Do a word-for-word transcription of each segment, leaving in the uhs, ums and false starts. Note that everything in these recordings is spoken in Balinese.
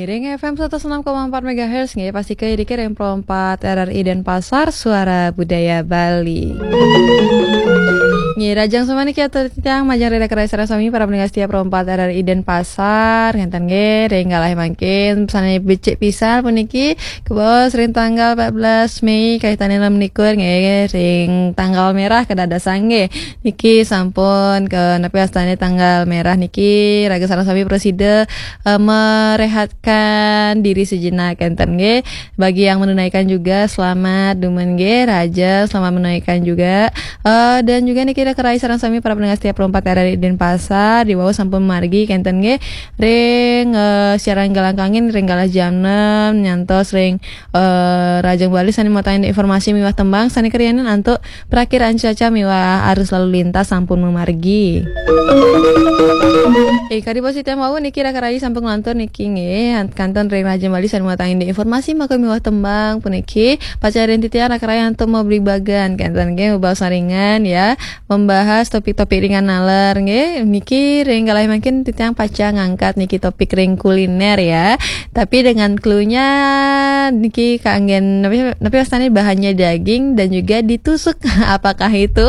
Ring F M seratus enam koma empat megahertz, nggih, pasti ke diki ring Pro empat R R I Denpasar, Suara Budaya Bali. Nggih, rahajeng semua niki atur titiang majeng ring raka rayi sareng sami para pendengar setia Pro empat R R I Denpasar, ngenten nggih, ring galah mangkin, sane becik pisan puniki, kabaos ring tanggal empat belas Mei, kaitannya enam likur, nggih, ring tanggal merah kadadasan nggih. Niki sampun ke napi astane tanggal merah niki, raga sareng sami prasida, eh, merehatkan diri sejenak, enten nggih. Bagi yang menunaikan juga, selamat dumun nggih, raja, selamat menunaikan juga. Eh, dan juga niki raka rayi sareng sami para pendengar setia Pro empat R R I Denpasar, diwau sampun margi, kenten nggih. Ring, eh, siaran galah kangin, ring galah jam enam, nyantos ring, eh, rahajeng Bali sane matahin informasi miwah tembang, sane karianan antuk prakiraan cuaca miwah arus lalu lintas sampun mamargi. Eh, kadi posisi wau niki raka rayi sampun nglantur niki nggih, kantun ring rahajeng Bali sane matahin informasi maka miwah tembang puniki, pacang ring titiang raka rayi antuk mabligbagan, kenten nggih, mabaos saringan ya, membahas topik-topik ringan naler nggih. Niki ring galah mangkin titiang pacang ngangkat niki topik ring kuliner ya. Tapi dengan clue-nya niki kanggen napi, napi wastane bahannya daging dan juga ditusuk. Apakah itu?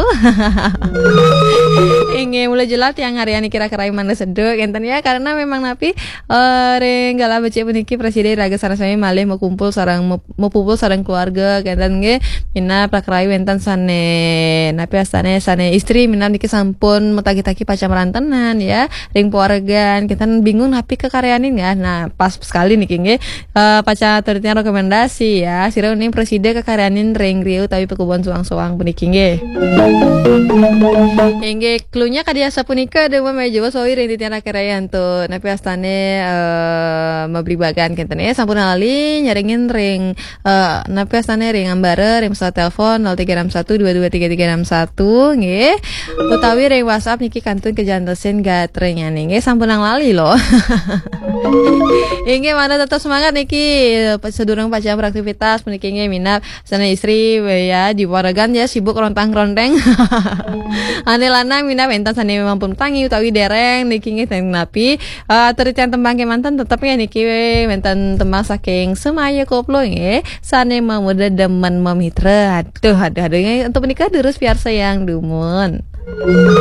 Inggih, mula jelas tiang ngarian niki raka rayi mangda seduk, enten ya, karena memang napi, eh, ring galah becik puniki prasida raga sareng sami malih makumpul sareng map-, mapupul sareng keluarga, kenten nggih. Minab raka rayi wenten sane, napi astane, sane istri minab niki sampun matagi-tagi pacang marantenan ya, ring pawargan, kenten bingung napi kakaryanin ya. Nah, pas sekali niki nggih. Eh, pacang atur titiang rekomendasi ya, sira uning prasida kakaryanin ring griya utawi pakubon soang-soang puniki nggih. Inggih, clue-nya kadi asapunika, dumun malih jebos wau ring titiang raka rayi antuk napi astane, eh, mabligbagan kenten ya, sampun lali nyarengin ring, eh, napi astane ring ambara, ring pesawat telepon nol tiga enam satu dua dua tiga tiga enam satu nggih. Utawi ring WhatsApp niki kantun kajantosin gatranyane nggih, sampun lali loh. Inggih, mangda tetep semangat niki, eh, sadurung pacang beraktivitas puniki nggih, minab sane istri ya, di pawargan ya sibuk rontang-ronteng. Ane lanang minab wenten sane mampun tangi utawi dereng niki nggih, ten napi, eh, atur titiang tembang kemanten tetep ya niki wenten tembang saking Semaya Koplo nggih, sane mamuda demen mamitra. Aduh, aduh, aduh, nggih, untuk menikah terus piarsa yang dumun.